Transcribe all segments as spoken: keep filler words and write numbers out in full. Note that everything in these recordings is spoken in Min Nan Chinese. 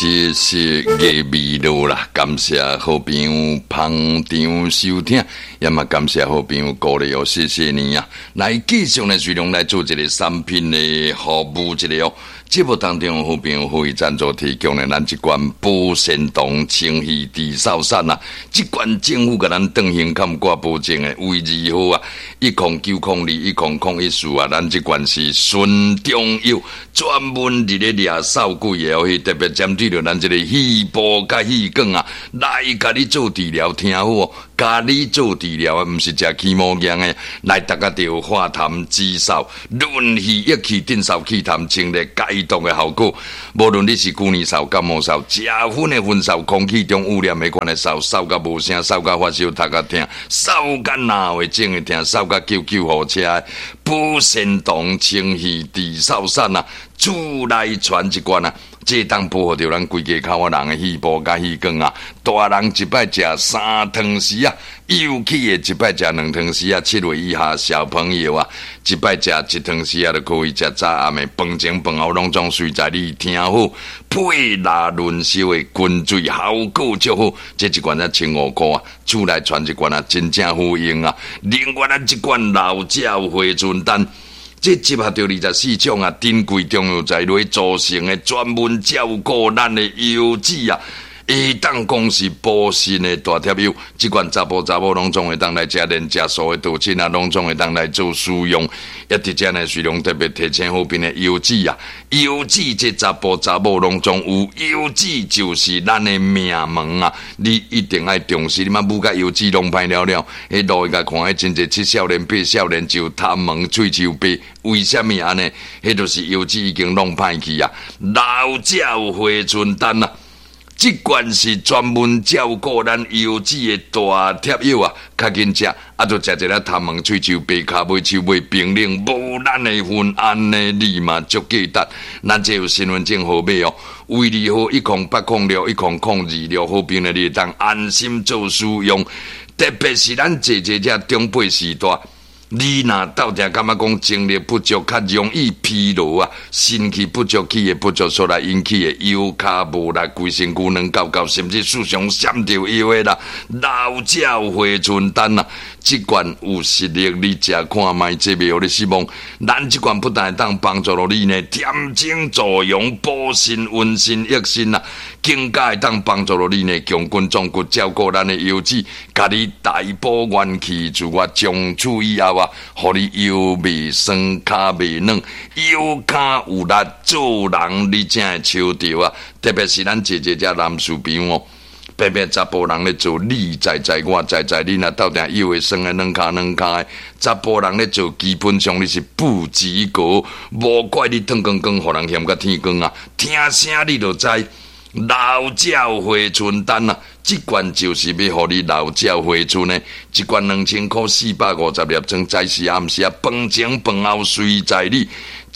謝謝嘅味道啦，感謝好朋友捧場收聽，也嘛感謝好朋友鼓勵哦，謝謝你啊！來繼續呢，隨量來做一個產品的服務一個哦。節目當中，好朋友可以贊助提供的咱這罐保鮮糖清氣治嗽散啊，這罐政府共咱斷行坎掛保證的，衛字號啊，一空九空二一空空一四啊，咱這罐是純中藥，專門佇咧掠嗽鬼的哦，特別針對著咱這個肺部佮氣管啊，來共你做治療，聽好哦，共你做治療的，毋是食起毛藥的，來逐家著化痰止嗽、潤肺益氣、鎮嗽去痰、清熱解毒的效果。無論你是舊年嗽、感冒嗽、食薰的薰嗽、空氣中污染的款的嗽、嗽甲無聲、嗽甲發燒、頭殼疼、嗽甲腦會腫會疼、嗽甲救救護車的，保鮮糖清氣治嗽散啊，厝內傳一罐啊！這當保護著咱規家口仔人的肺部佮氣管啊！大人一擺食三湯匙啊，幼齒的一擺食兩湯匙啊，七歲以下小朋友啊，一擺食一湯匙啊，就可以食早暗的飯前飯後攏總隨在你聽好，配辣潤燒的滾水效果足好。這一罐才千五箍啊，厝內傳一罐啊，真正好用啊！另外咱這罐老鳥回春丹。這集合著二十四種啊，珍貴中藥材來組成的，專門照顧咱的腰子啊，會當講是補腎的大帖藥。這款查埔查某攏總會當來食，連食素的道親啊，攏總會當來做使用。也佇遮呢，雖然特別提醒好朋的腰子啊，腰子這查埔查某攏總有，腰子就是咱的命門啊！你一定愛重視，你嘛舞甲腰子攏歹了了，彼路共看，彼真濟七少年八少年就頭毛喙鬚白，為啥物按呢？彼就是腰子已經弄歹去啊！老鳥回春丹啊！這罐是專門照顧咱腰子的大帖藥啊，較緊食，啊，就食一下頭毛、喙鬚白、跤尾、手尾冰冷，無咱的份，按呢你嘛足價值。咱這有身份證號碼哦，衛字號一空八空六一空空二六，好朋友你會當安心做使用。特別是咱坐坐這長輩時代。你若鬥定感覺講精力不足，較容易疲勞啊，腎氣不足，氣血不足，所來引起的腰跤無力、規身軀軟厚厚，甚至時常閃著腰的啦。老鳥回春丹啊，這罐有實力，你食看覓，這袂予你失望。咱這罐不但會當幫助到你呢，恬靜助陽、補腎、溫腎、益腎啊，更加會當幫助到你呢，強筋壯骨，照顧咱的腰子，共你大補元氣，自我從此以後啊，予你腰袂酸、跤袂軟、腰跤有力，做人你才會抽著啊！特別是咱姐姐遮男士朋友哦，白白查埔人咧做，你知知我知知，你若鬥定腰會酸的軟跤軟跤的，查埔人咧做，基本上你是不及格，無怪你脫光光，予人嫌甲天光啊！聽聲你就知。老鳥回春丹啊，這罐就是欲予你老鳥回春的，一罐兩千箍，四百五十粒裝，早時暗時啊，飯前飯後隨在你，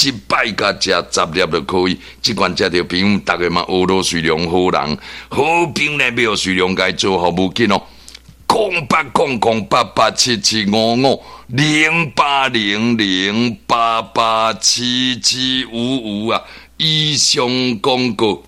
一擺共食十粒就可以。這罐食著朋友，逐家嘛學羅瑞良好人，好朋友欲學瑞良共做服務緊哦。空八空空八八七七五五零八零零八八七七五五啊，以上廣告。